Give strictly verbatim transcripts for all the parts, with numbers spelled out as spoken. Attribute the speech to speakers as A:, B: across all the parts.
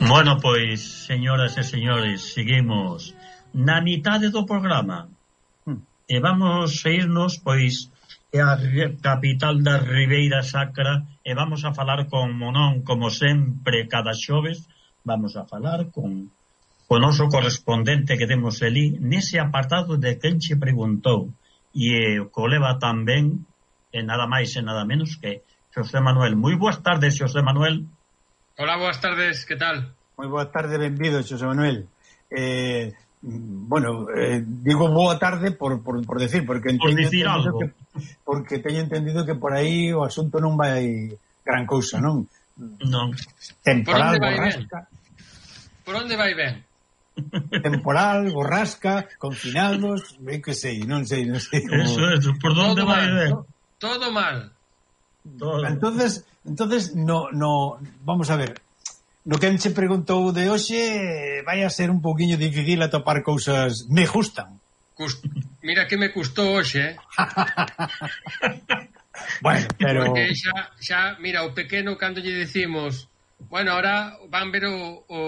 A: Bueno, pois, señoras e señores, seguimos na mitade do programa hmm. e vamos a irnos, pois, a capital da Ribeira Sacra e vamos a falar con Monón, como sempre, cada xoves, vamos a falar con o noso correspondente que temos ali nese apartado de quen che preguntou e o coleva tamén e nada máis e nada menos que Xosé Manuel. Moi boas tardes, Xosé Manuel.
B: Hola, boas tardes, que tal?
C: Moi boa tarde, benvido, Xosé Manuel. Eh, bueno, eh, digo boa tarde por, por, por decir, porque
A: por decir algo.
C: Que, porque teño entendido que por aí o asunto non vai gran cousa, non?
A: Non.
C: Temporal, borrasca.
B: Por onde vai ben?
C: Temporal, borrasca, confinados, ben que sei, non sei, non sei. Como...
A: Eso, eso, por onde vai ben?
B: Todo mal.
C: Todo. Entonces, entonces no, no, vamos a ver. No que se preguntou de hoxe vai a ser un pouquiño difícil atopar cousas me gustan.
B: Cust... Mira que me custou hoxe, eh?
C: Bueno, pero...
B: Porque xa, xa, mira, o pequeno cando lle decimos, bueno, ahora van ver o, o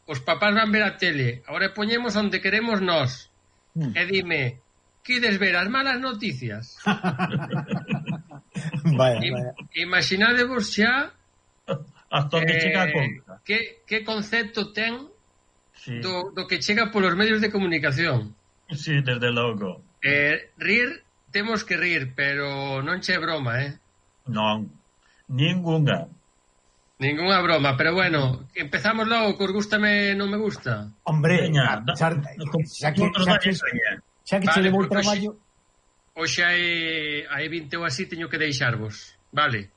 B: os papás van ver a tele, ahora poñemos onde queremos nós. Hmm. E dime, quides ver as malas noticias?
C: Vaya, vaya.
B: Imaginadevos xa
A: hasta onde
B: eh,
A: chega a conta.
B: Que, que concepto ten
A: sí.
B: do, do que chega polos medios de comunicación.
A: Sí, desde logo.
B: Eh, rir, temos que rir, pero non che broma, eh?
A: Non, ningunha.
B: Ningunha broma, pero bueno, empezamos logo, que os gústame non me gusta.
C: Hombre,
A: Veña,
C: xa, xa que xa que, xa que vale, che levou o traballo.
B: Hoxe hai, hai vinte ou así, teño que deixarvos, vale?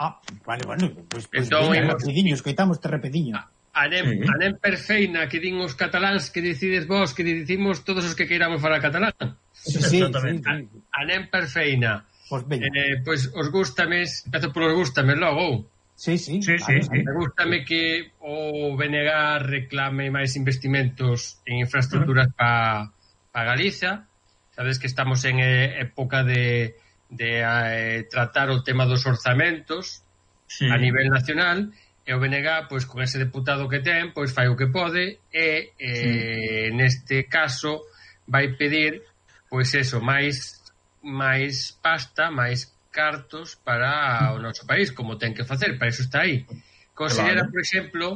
C: Ah, vale, bueno, pois pues, pues,
B: entón,
C: veña, rapidinho, escoitamos te rapidinho.
B: Anem, sí. anem perfeina que din os cataláns, que decides vos, que dicimos todos os que queiramos falar catalán.
C: Sí, sí, sí, sí.
B: Anem perfeina.
C: Pois pues
B: eh, pois pues, os gústames, empezo polos gústames logo.
C: Sí, sí.
A: Sí, sí, sí.
B: Me gústame que o B N G reclame máis investimentos en infraestructuras uh -huh. para pa Galiza. Sabes que estamos en eh, época de de eh, tratar o tema dos orzamentos sí. a nivel nacional, e o B N G, pois, con ese deputado que ten, pois fai o que pode, e eh, sí. neste caso vai pedir, pois eso, máis máis pasta, máis cartos para o noso país, como ten que facer, para eso está aí. Considera, claro. por exemplo,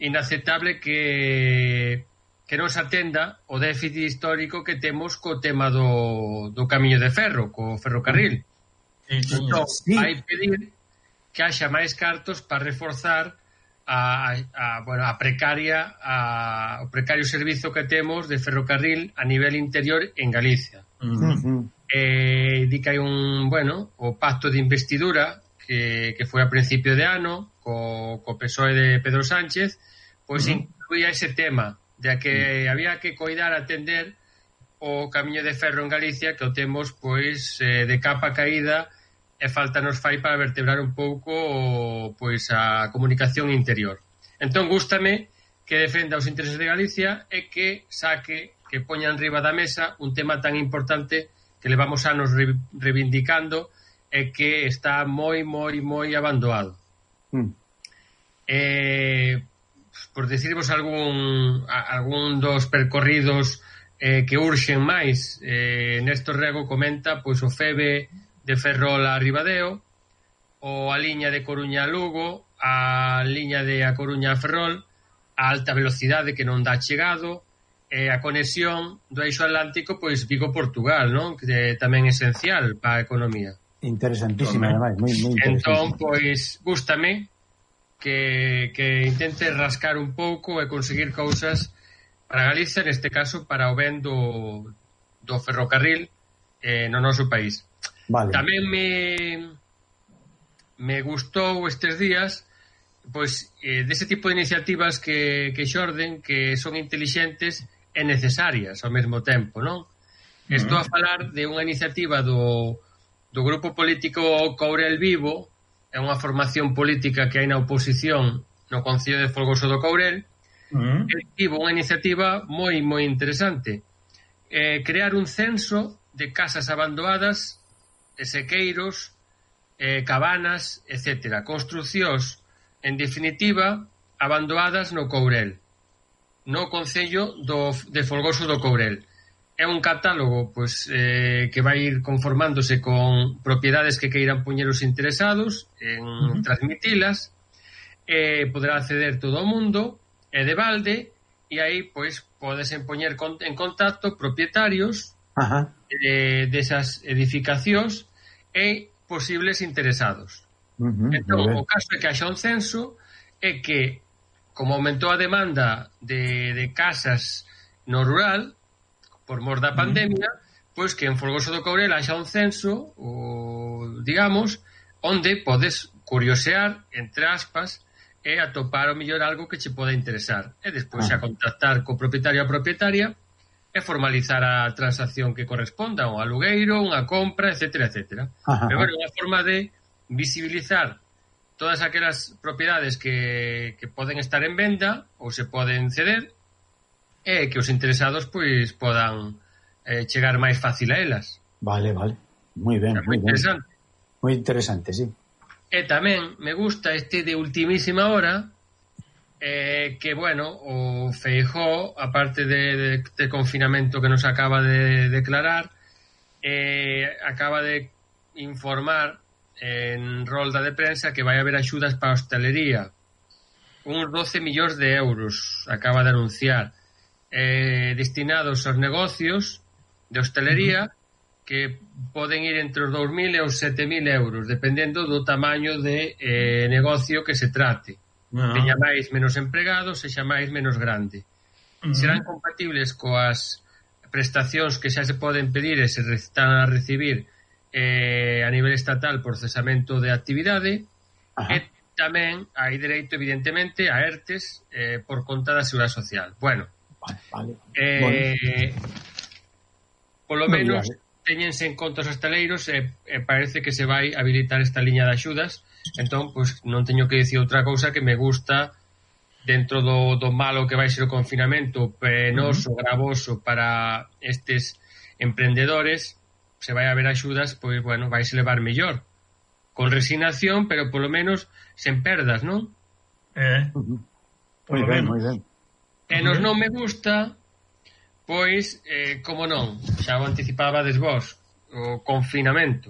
B: inaceptable que que non se atenda o déficit histórico que temos co tema do, do camiño de ferro, co ferrocarril. Sí, sí, entón, sí. vai pedir que haxa máis cartos para reforzar a, a, bueno, a precaria a, o precario servizo que temos de ferrocarril a nivel interior en Galicia. Uh -huh. eh, di que hai un, bueno, o pacto de investidura que, que foi a principio de ano co, co P S O E de Pedro Sánchez, pois uh -huh. incluía ese tema de que había que coidar, atender o camiño de ferro en Galicia, que o temos pois eh, de capa caída, e falta nos fai para vertebrar un pouco pois a comunicación interior. Entón gústame que defenda os intereses de Galicia e que saque, que poña en riba da mesa un tema tan importante que levamos anos re, reivindicando e que está moi, moi, moi abandonado. Mm. Eh... por decirvos algún algún dos percorridos eh, que urxen máis, eh, Néstor Rego comenta pois o F E B de Ferrol a Ribadeo, ou a liña de Coruña a Lugo, a liña de A Coruña a Ferrol, a alta velocidade que non dá chegado, e a conexión do eixo atlántico, pois Vigo-Portugal, non? Que tamén é esencial para a economía.
C: Interesantísima, ademais, moi, moi interesantísima.
B: Entón, pois, gústame que, que intente rascar un pouco e conseguir cousas para Galicia, neste caso para o ben do, do ferrocarril eh, no noso país.
C: Vale.
B: Tamén me me gustou estes días pois eh, dese tipo de iniciativas que, que xorden, que son intelixentes e necesarias ao mesmo tempo, non? Uh-huh. Estou a falar de unha iniciativa do, do grupo político Courel Vivo. É unha formación política que hai na oposición no Concello de Folgoso do Courel. Uh-huh. E tivo unha iniciativa moi, moi interesante. Eh, crear un censo de casas abandonadas, sequeiros, eh, cabanas, etcétera. Construcións, en definitiva, abandonadas no Courel, no concello do, de Folgoso do Courel. É un catálogo pois, eh, que vai ir conformándose con propiedades que queiran poñer os interesados en uh-huh. transmitilas, eh, poderá acceder todo o mundo, é de balde, e aí pois podes poñer en contacto propietarios uh-huh. de, desas edificacións e posibles interesados. Uh-huh. Entón, o caso é que haxa un censo é que, como aumentou a demanda de, de casas no rural por mor da pandemia, uh-huh. pois que en Folgoso do Courel haxa un censo, o, digamos, onde podes curiosear, entre aspas, e atopar o mellor algo que che poda interesar. E despois uh-huh. a contactar co propietario a propietaria e formalizar a transacción que corresponda, un alugueiro, unha compra, etcétera, etcétera. Uh-huh. Pero, bueno, unha forma de visibilizar todas aquelas propiedades que, que poden estar en venda ou se poden ceder e que os interesados pois podan eh, chegar máis fácil a elas.
C: Vale, vale. Moi ben, moi ben.
B: Interesante.
C: Moi interesante, sí.
B: E tamén me gusta este de ultimísima hora eh, que, bueno, o Feijóo, aparte de, de, de confinamento que nos acaba de declarar, eh, acaba de informar en rolda de prensa que vai haber axudas para a hostelería, uns doce millóns de euros acaba de anunciar, eh, destinados aos negocios de hostelería, uh-huh. que poden ir entre os dous mil e os sete mil euros, dependendo do tamaño de eh, negocio que se trate. Uh-huh. Teña máis menos empregados, sexa máis menos grande. Uh-huh. Serán compatibles coas prestacións que xa se poden pedir e se están a recibir Eh, a nivel estatal por cesamento de actividade. Ajá. E tamén hai dereito, evidentemente, a ERTES eh, por conta da Seguridade Social. Bueno,
C: vale, vale.
B: Eh, bueno. Polo no menos vale. Téñense en conta os hostaleiros e eh, eh, parece que se vai habilitar esta liña de axudas. Entón, pois, non teño que dicir outra cousa que me gusta dentro do, do malo que vai ser o confinamento penoso, uh-huh. gravoso para estes emprendedores. Se vai haber axudas, pois, bueno, vais levar mellor. Con resignación, pero polo menos sen perdas, non?
A: Eh.
C: Moi ben, moi ben.
B: E nos non me gusta, pois, eh, como non, xa o anticipabades vos, o confinamento.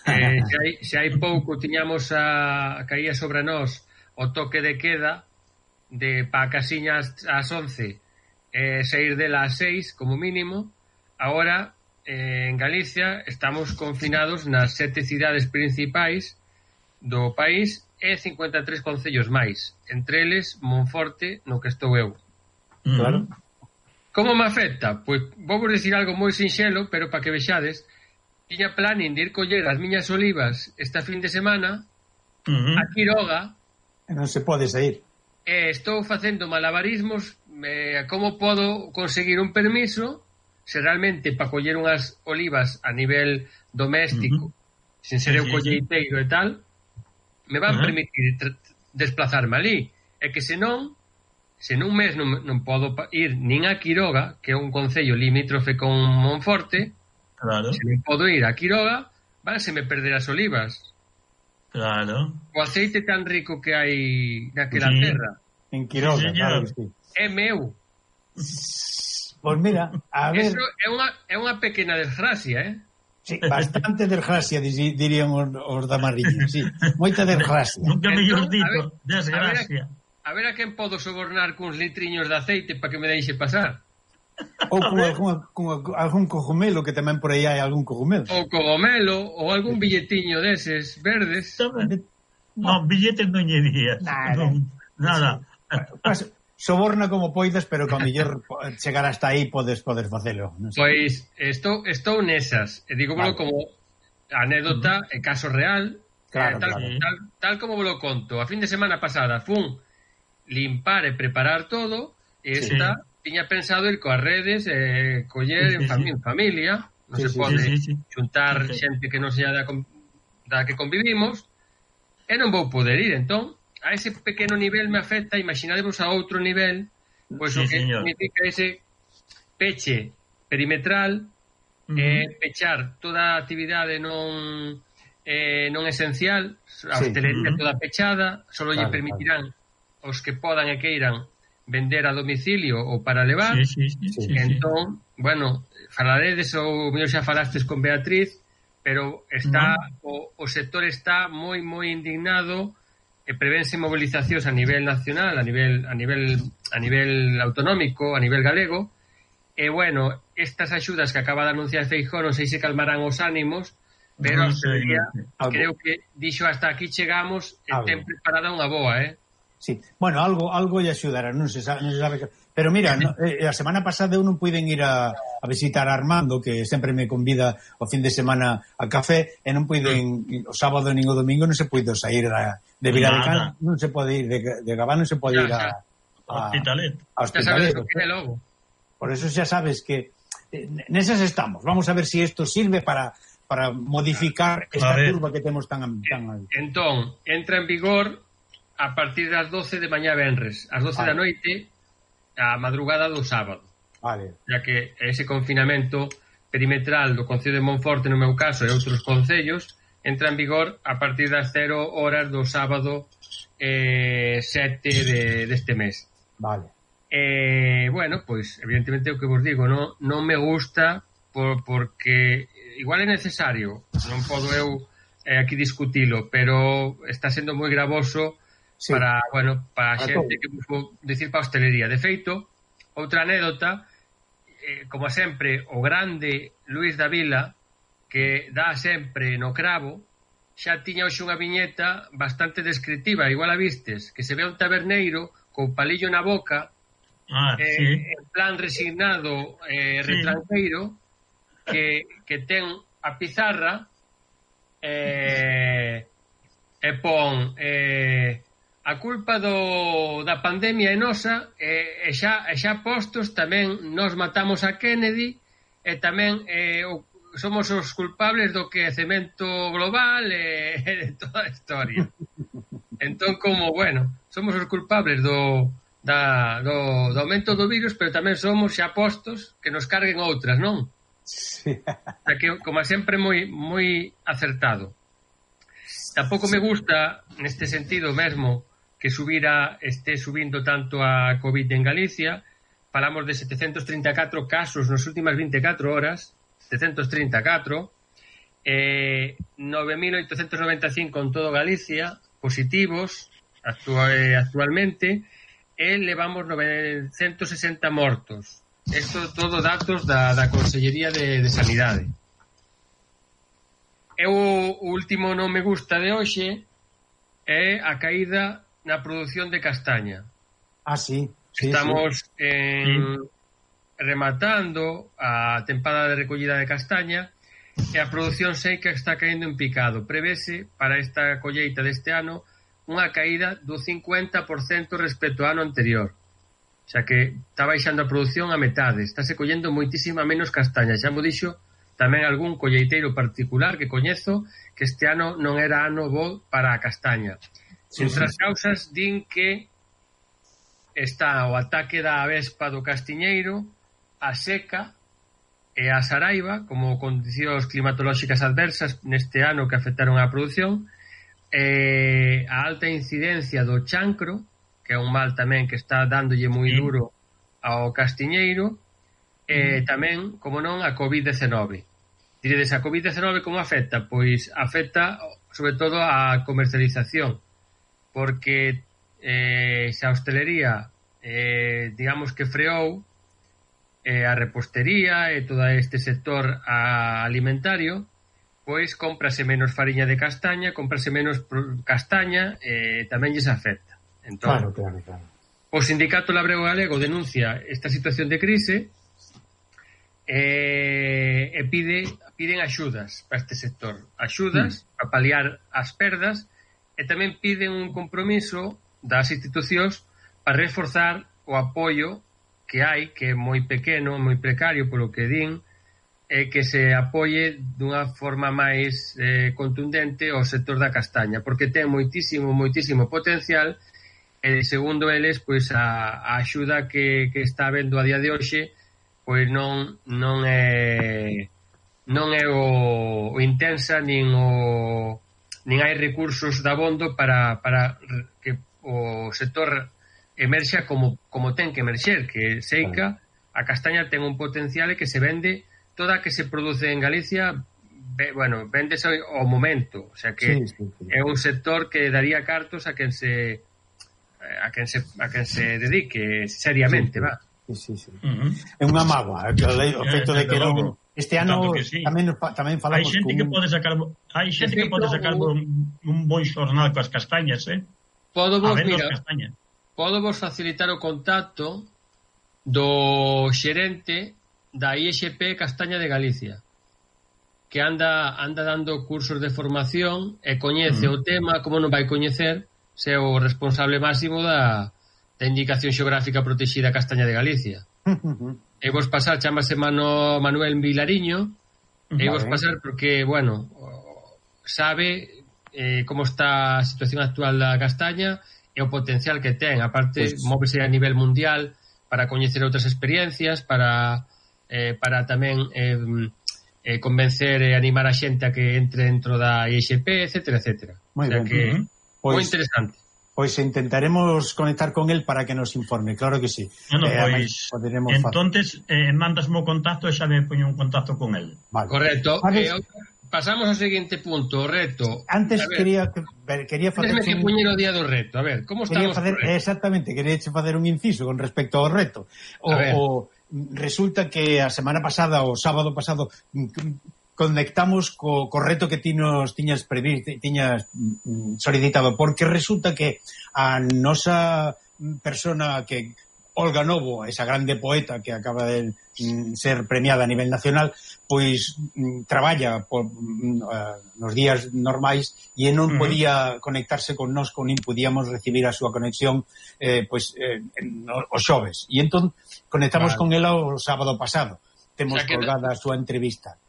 B: Eh, se, hai, se hai pouco tiñamos a, a caía sobre nós o toque de queda de pa casiñas ás once e eh, sair dela ás seis, como mínimo. Agora, en Galicia estamos confinados nas sete cidades principais do país e cincuenta e tres concellos máis, entre eles Monforte, no que estou eu.
C: Claro.
B: Como me afecta? Pois vou vos dicir algo moi sinxelo, pero para que vexades, tiña planning de ir coller as miñas olivas esta fin de semana uh-huh. a Quiroga
C: e non se pode sair.
B: E estou facendo malabarismos eh, como podo conseguir un permiso se realmente para coller unhas olivas a nivel doméstico, uh-huh. sin ser sí, eu colleiteiro sí. e tal, me van uh-huh. permitir tra- desplazarme ali. E que senón, se nun mes non, non podo ir nin a Quiroga, que é un concello limítrofe con Monforte,
A: claro.
B: se non podo ir a Quiroga, vanse me perder as olivas.
A: Claro.
B: O aceite tan rico que hai naquela
A: sí.
B: terra.
C: En Quiroga, sí, claro que sí.
B: É meu.
C: Pois mira, a ver...
B: Eso é unha, é unha pequena desgracia, eh?
C: Sí, bastante desgracia, dirían os, os da Marriña, sí. Moita desgracia.
A: Nunca mellor dito, desgracia.
B: A ver a quen podo sobornar cuns litriños de aceite para que me deixe pasar.
C: Ou con, algún, con algún cogumelo, que tamén por aí hai algún cogumelo.
B: Ou cogumelo, ou algún billetiño deses verdes.
A: Non, billetes non lle días.
C: Nada.
A: Non, nada.
C: Pues, soborna como poidas, pero que a mellor chegar hasta aí podes poder facelo. Non sei.
B: Pois estou estou nesas, e digo vale. Como anécdota e caso real,
C: claro,
B: eh, tal,
C: claro.
B: Tal, tal como vos lo conto. A fin de semana pasada fun limpar e preparar todo, e esta sí. Tiña pensado ir coas redes e eh, coller sí, sí, en, fam- sí. en familia, non sí, se sí, pode sí, sí, sí. Xuntar sí, sí. xente que non sea da, da que convivimos, e non vou poder ir, entón a ese pequeno nivel me afecta. Imaginadevos a outro nivel, pois sí, o que señor. Significa ese peche perimetral, uh-huh. eh, pechar toda a actividade non eh, non esencial, a sí. hostelería uh-huh. toda pechada, solo claro, lle permitirán claro. os que podan e queiran vender a domicilio ou para levar.
A: Sí, sí, sí, sí,
B: entón, sí. bueno, falaredes ou mellor xa falastes con Beatriz, pero está no. o, o sector está moi moi indignado e prevense movilizacións a nivel nacional, a nivel a nivel a nivel autonómico, a nivel galego. E bueno, estas axudas que acaba de anunciar Feijóo non sei se calmarán os ánimos, pero no sé, día, no sé. creo que dixo hasta aquí chegamos e ten preparada unha boa, eh?
C: Sí, bueno, algo algo lle axudará, non se sabe, non se sabe que... Pero mira, no, eh, a semana pasada eu non puiden ir a, a visitar a Armando, que sempre me convida o fin de semana a café, e non puiden, o sábado nin o domingo non se puido sair a, de Viladecans, non se pode ir, de, de Gabá non se pode ir a...
A: a Hospitalet.
C: A Hospitalet. Por eso xa sabes que eh, nesas estamos. Vamos a ver se si isto sirve para para modificar esta curva que temos tan... tan...
B: Entón, entra en vigor a partir das doce de mañá venres, ás doce vale. da noite, a madrugada do sábado.
C: Vale.
B: Ya que ese confinamento perimetral do Concello de Monforte, no meu caso, e outros concellos, entra en vigor a partir das cero horas do sábado eh, sete de, deste mes.
C: Vale.
B: Eh, bueno, pois, evidentemente, o que vos digo, non, non me gusta por, porque igual é necesario, non podo eu eh, aquí discutilo, pero está sendo moi gravoso. Sí. Para, bueno, para a xente que vou dicir para a hostelería. De feito, outra anécdota, eh, como sempre, o grande Luis Davila, que dá sempre no cravo, xa tiña hoxe unha viñeta bastante descriptiva, igual a vistes, que se ve un taberneiro co palillo na boca,
A: ah,
B: eh,
A: sí.
B: en plan resignado, eh, sí. retranqueiro, que, que ten a pizarra eh, e pon... Eh, a culpa do, da pandemia é nosa e, e, xa, e xa postos tamén nos matamos a Kennedy e tamén eh, o, somos os culpables do quecemento global e, e de toda a historia. Entón, como, bueno, somos os culpables do, da, do, do aumento do virus, pero tamén somos xa postos que nos carguen outras, non?
C: Sí.
B: O sea que, como sempre, moi, moi acertado. Tampouco me gusta, neste sentido mesmo, que subira, este subindo tanto a COVID en Galicia. Falamos de setecentos trinta e catro casos nas últimas vinte e catro horas, setecentos trinta e catro, eh, nove mil oitocentos noventa e cinco en todo Galicia, positivos actual, actualmente, e levamos novecentos sesenta mortos. Isto todo datos da, da Consellería de, de Sanidade. E o último non me gusta de hoxe é a caída na produción de castaña.
C: Ah, sí. sí
B: Estamos
C: sí.
B: En, sí. rematando a tempada de recollida de castaña e a produción seca está caendo en picado. Prevese para esta colleita deste ano unha caída do cincuenta por cento respecto ao ano anterior. O sea que está baixando a produción a metade. Estáse collendo moitísima menos castaña. Xa mo dixo tamén algún colleiteiro particular que coñezo que este ano non era ano bo para a castaña. Sí, Entre as causas din que está o ataque da avespa do castiñeiro, a seca e a saraiva como condicións climatolóxicas adversas neste ano que afectaron a produción, e a alta incidencia do chancro, que é un mal tamén que está dándolle moi duro ao castiñeiro, e tamén, como non, a covid diecinueve. Diredes, a covid diecinueve como afecta? Pois afecta sobre todo a comercialización, porque eh, se a hostelería eh, digamos que freou, eh, a repostería e todo este sector alimentario, pois cómprase menos fariña de castaña, cómprase menos castaña e eh, tamén lles afecta. Entón,
C: claro, claro, claro.
B: O Sindicato Labrego Galego denuncia esta situación de crise eh, e pide piden axudas para este sector, axudas mm. para paliar as perdas. E tamén piden un compromiso das institucións para reforzar o apoio que hai, que é moi pequeno, moi precario, polo que din, e que se apoie dunha forma máis eh, contundente ao sector da castaña, porque ten moitísimo, moitísimo potencial, e segundo eles, pois a, a axuda que, que está habendo a día de hoxe, pois non, non é non é o, o intensa, nin o nin hai recursos de abondo para, para que o sector emerxa como, como ten que emerxer, que seica a castaña ten un potencial que se vende toda a que se produce en Galicia, be, bueno, véndese ao momento, o sea que sí, sí, sí. É un sector que daría cartos a quen se a quen se a quen se dedique seriamente, sí, va.
C: Sí, sí, sí. Uh-huh. É unha mágoa, o feito de que non este ano que sí. tamén tamén falamos
A: hai xente que pode sacar hai xente que pode sacar un, un bon xornal coas castañas, eh?
B: Podo vos, mira, podo vos facilitar o contacto do xerente da I X P Castaña de Galicia, que anda anda dando cursos de formación e coñece uh-huh. o tema, como non vai coñecer se é o responsable máximo da, da indicación xeográfica protexida Castaña de Galicia. Uh-huh. E vos pasar, chamase Mano, Manuel Vilariño, uh-huh. e vos pasar porque, bueno, sabe eh, como está a situación actual da castaña e o potencial que ten, aparte pues, móvese a nivel mundial para coñecer outras experiencias, para eh, para tamén eh, eh, convencer e animar a xente a que entre dentro da I X P, etcétera, etcétera.
C: Moi
B: o sea
C: ben.
B: que
C: Uh-huh.
B: Pois, moi interesante.
C: Pois intentaremos conectar con él para que nos informe, claro que sí.
A: Bueno, eh, pois, entonces eh, mandasme o contacto e xa me poño un contacto con él.
B: Vale. Correcto. Eh, pasamos ao seguinte punto, o reto.
C: Antes quería quería facer
B: un... que poñer o día do reto. A ver, como estamos
C: facer, exactamente, quería facer un inciso con respecto ao reto. O, o resulta que a semana pasada, o sábado pasado, conectamos co, co reto que ti nos tiñas previsto, tiñas mm, solicitado, porque resulta que a nosa persona que Olga Novo, esa grande poeta que acaba de mm, ser premiada a nivel nacional, pois mm, traballa por, mm, uh, nos días normais e non uh-huh. podía conectarse con nós, con nin podíamos recibir a súa conexión eh, pois eh, no, os xoves. E entón conectamos vale. con ela o sábado pasado. Temos o sea colgada a súa entrevista.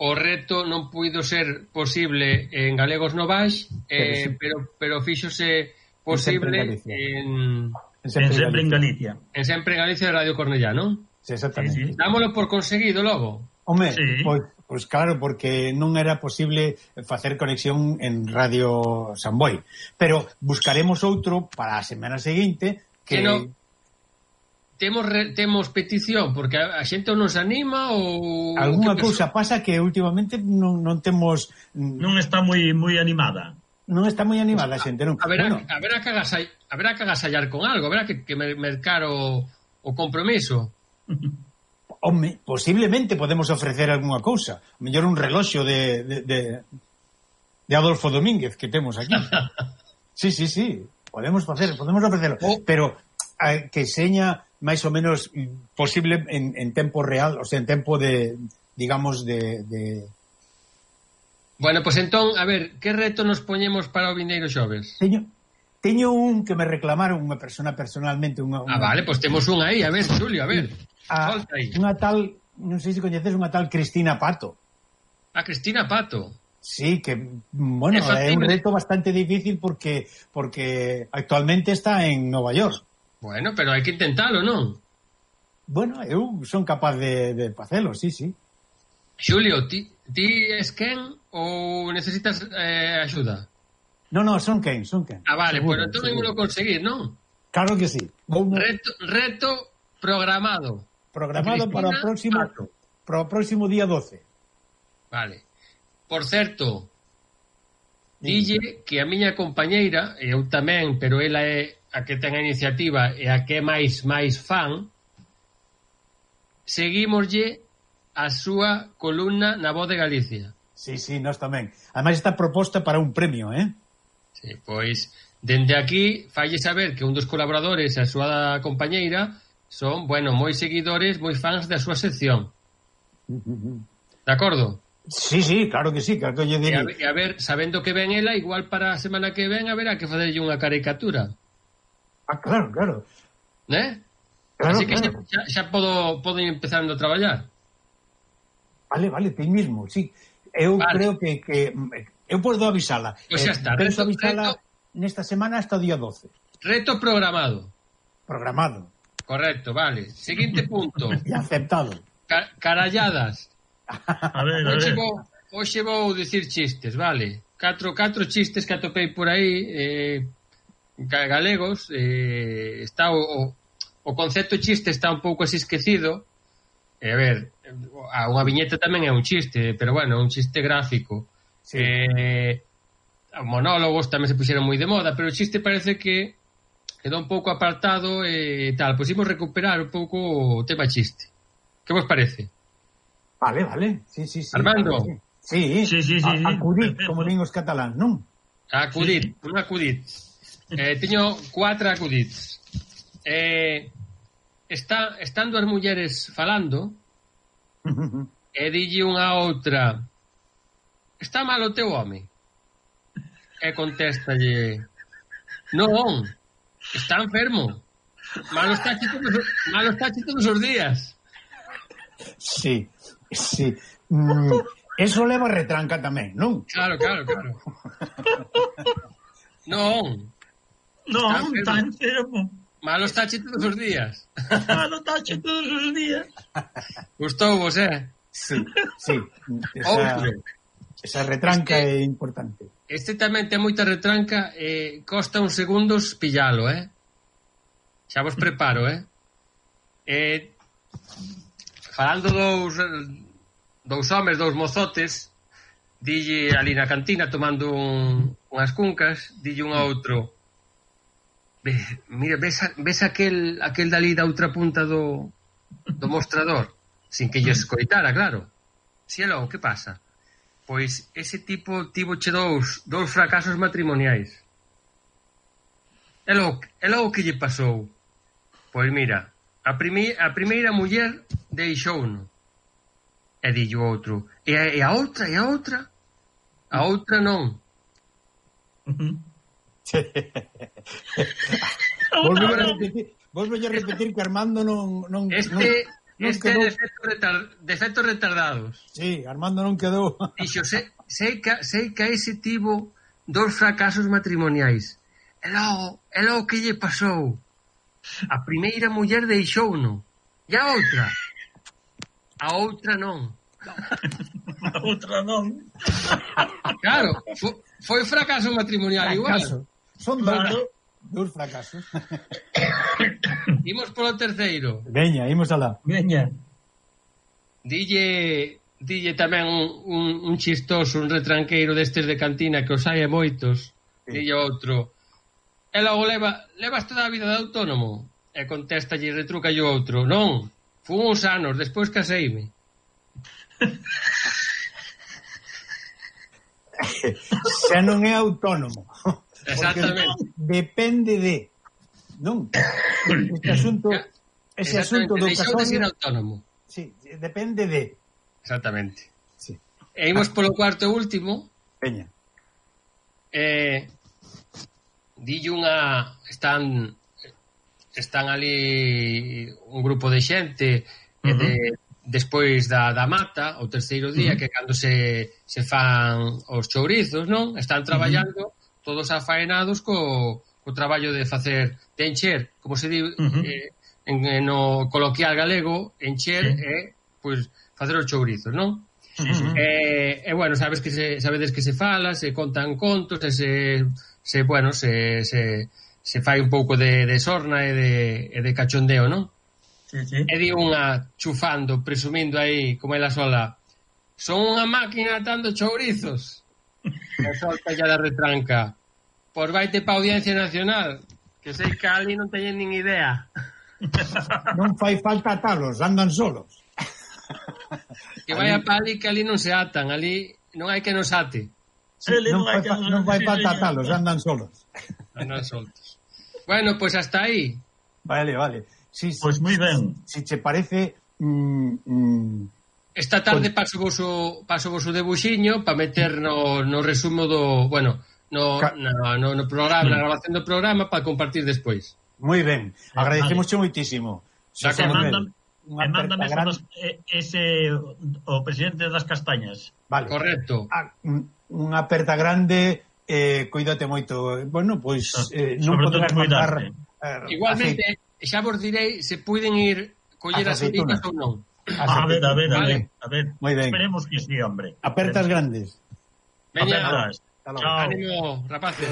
B: O reto non puido ser posible en Galegos Novais, eh, sí. pero pero fíxose posible en
A: en Sempre en Galicia.
B: En Sempre en Galicia de Radio Cornellá, non?
C: Sí, exactamente. Sí, sí.
B: Dámolo por conseguido logo.
C: Home, sí. pois, pois claro, porque non era posible facer conexión en Radio Samboy, pero buscaremos outro para a semana seguinte que... que no...
B: Temos re, temos petición porque a, a xente non se anima ou
C: algunha cousa pasa que últimamente non, non temos
A: non está moi moi animada.
C: Non está moi animada a xente, non.
B: A ver, bueno. a ver a cagasai, a ver a cagasallar con algo, a ver a que, que mercar o, o compromiso.
C: Home, posiblemente podemos ofrecer algunha cousa, a mellor un reloxo de de, de de Adolfo Domínguez que temos aquí. Sí, sí, sí, podemos facer, podemos ofrecerlo, oh. pero a, que seña máis ou menos posible en, en tempo real, o sea, en tempo de, digamos, de... de...
B: Bueno, pois pues entón, a ver, que reto nos poñemos para o vindeiro xoves?
C: Teño, teño un que me reclamaron unha persona personalmente. Unha, unha...
B: Ah, vale, pois pues temos un aí, a ver, Xulio, a ver,
C: a, solta aí. Unha tal, non sei se coñeces, unha tal Cristina Pato.
B: A Cristina Pato? Sí,
C: que, bueno, é un reto bastante difícil porque porque actualmente está en Nova York.
B: Bueno, pero hai que intentalo, non?
C: Bueno, eu son capaz de, de facelo, sí, sí.
B: Xulio, ti, ti es quen ou necesitas eh, axuda?
C: No, no, son quen, son quen.
B: Ah, vale, seguro, pero entón ímolo conseguir, non?
C: Claro que sí.
B: Vamos... Reto, reto programado.
C: Programado para o próximo Pato. Para o próximo día doce.
B: Vale. Por certo, dille que a miña compañeira, e eu tamén, pero ela é a que ten a iniciativa e a que é máis máis fan, seguímoslle a súa columna na Voz de Galicia.
C: Sí, sí, nós tamén. Ademais está proposta para un premio, eh?
B: Sí, pois, dende aquí, falle saber que un dos colaboradores e a súa compañeira son, bueno, moi seguidores, moi fans da súa sección. De acordo?
C: Sí, sí, claro que sí, claro que lle diría.
B: E a, ver, a ver, sabendo que ven ela, igual para a semana que ven, a ver, a que facerlle unha caricatura.
C: Ah, claro, claro.
B: ¿Eh?
C: Claro,
B: así que
C: claro.
B: xa, xa podo, podo ir empezando a traballar.
C: Vale, vale, ti mismo, sí. Eu vale. creo que, que eu podo avisala.
B: Pois xa está.
C: Eh, penso avisala reto, nesta semana hasta o día doce.
B: Reto programado.
C: Programado.
B: Correcto, vale. Seguinte punto.
C: E aceptado.
B: Ca caralladas.
A: A ver, a
B: Oxe
A: ver.
B: vou, oxe vou dicir chistes, vale. Catro, catro chistes que atopei por aí. Eh, galegos, eh, está o, o, o concepto chiste está un pouco así esquecido. E, a ver, a unha viñeta tamén é un chiste, pero bueno, un chiste gráfico. Sí. Eh, monólogos tamén se puxeron moi de moda, pero o chiste parece que quedou un pouco apartado e tal. Pois imos recuperar un pouco o tema chiste. Que vos parece?
C: Vale, vale. Sí, sí, sí.
B: Armando?
C: Sí,
A: sí, sí, sí,
C: a,
A: sí.
C: Acudit, como din os catalán, non?
B: Acudit, sí. Un acudit. Eh, teño cuatro acudits. Eh, está, están dúas mulleres falando e dille unha outra: está mal o teu home? E contéstalle: non, está enfermo. Malo está todos, malo está todos os días.
C: Sí, sí. Mm, eso leva retranca tamén, non?
B: Claro, claro, claro. Non.
A: Non, está enfermo.
B: Malo está todos os días.
A: Malo está todos os días.
B: Gustou vos, eh?
C: Sí, sí. Esa, esa retranca este, é importante.
B: Este tamén ten moita retranca e eh, costa uns segundos pillalo, eh? Xa vos preparo, eh? Eh... Falando dous dous homes, dous mozotes, dille ali na cantina tomando un, unhas cuncas, dille un a outro: Ve, mira, ves, ves aquel aquel dali da outra punta do do mostrador, sin que lle escoitara, claro. Si, e logo, que pasa? Pois ese tipo tivoche dous dous fracasos matrimoniais. E logo, e logo que lle pasou? Pois mira, A, prime, a primeira muller deixouno. E dillo outro: E a, e a outra, e a outra? A outra non.
C: Volvo a repetir, volvo a repetir que Armando non... non
B: este
C: non, non
B: este quedou... defectos retar, defecto retardados.
C: Sí, Armando non quedou.
B: Dixo, sei, sei, que, sei que ese tivo dous fracasos matrimoniais. E logo, e logo que lle pasou? A primeira muller deixouno. E a outra? A outra non.
A: A outra non.
B: Claro, foi, foi fracaso matrimonial
C: fracaso. Igual. Son
A: claro.
C: Dous fracasos.
B: Imos polo terceiro.
C: Veña, imos alá.
A: Veña.
B: Dille, dille tamén un, un, un chistoso, un retranqueiro destes de cantina que os hai a moitos. Sí. Dille outro: E logo leva, levas toda a vida de autónomo? E contéstalle, retruca o outro: Non, fun uns anos, despois caseime.
C: Xa non é autónomo.
B: Exactamente.
C: Depende de... Non? Este asunto... Ese asunto do
B: casorio... de ser autónomo.
C: Sí, depende de...
B: Exactamente.
C: Sí.
B: E imos polo cuarto e último.
C: Peña.
B: Eh... Dille unha... Están están ali un grupo de xente uh-huh. de, despois da, da mata, o terceiro día, uh-huh. que cando se, se fan os chourizos, non? Están traballando uh-huh. todos afaenados co, co traballo de facer, de encher, como se di uh-huh. eh, en, en no coloquial galego, encher uh-huh. e, pois, facer os chourizos, non? Uh-huh. E, e, bueno, sabes que se, sabedes que se fala, se contan contos, e se... se, bueno, se, se, se fai un pouco de, de sorna e de, e de cachondeo, non?
A: Sí, sí.
B: E di unha chufando, presumindo aí, como ela sola: son unha máquina atando chourizos. E solta ya da retranca: pois vaite pa Audiencia Nacional, que sei que ali non teñen nin idea.
C: Non fai falta atalos, andan solos.
B: Que vaya pa ali, que ali non se atan, ali non hai que nos ate.
C: Sí, non, fai, que... non fai falta atalos, andan solos.
B: Andan soltos. Bueno, pois pues hasta aí.
C: Vale, vale. Sí,
A: pois pues moi ben.
C: Si te parece... Mm, mm,
B: esta tarde pues... paso vos o, paso vos o debuxiño para meter no, no resumo do... Bueno, no, Ca... no, no, no programa, na grabación do programa para compartir despois.
C: Moi ben. Agradecemos vale. Moitísimo.
A: E mándame, mándame gran... ese o presidente das castañas.
B: Vale. Correcto.
C: Ah, unha aperta grande, eh, cuídate moito. Bueno, pois eh, non poderás mandar...
B: Eh, igualmente, aceite. Xa vos direi se puiden ir coller as aceitunas ou non.
A: A ver, a ver, a ver, a ver.
C: Moi ben.
A: Esperemos que sí, hombre.
C: Apertas grandes.
B: Veña,
A: apertas.
B: Ánimo, rapaces.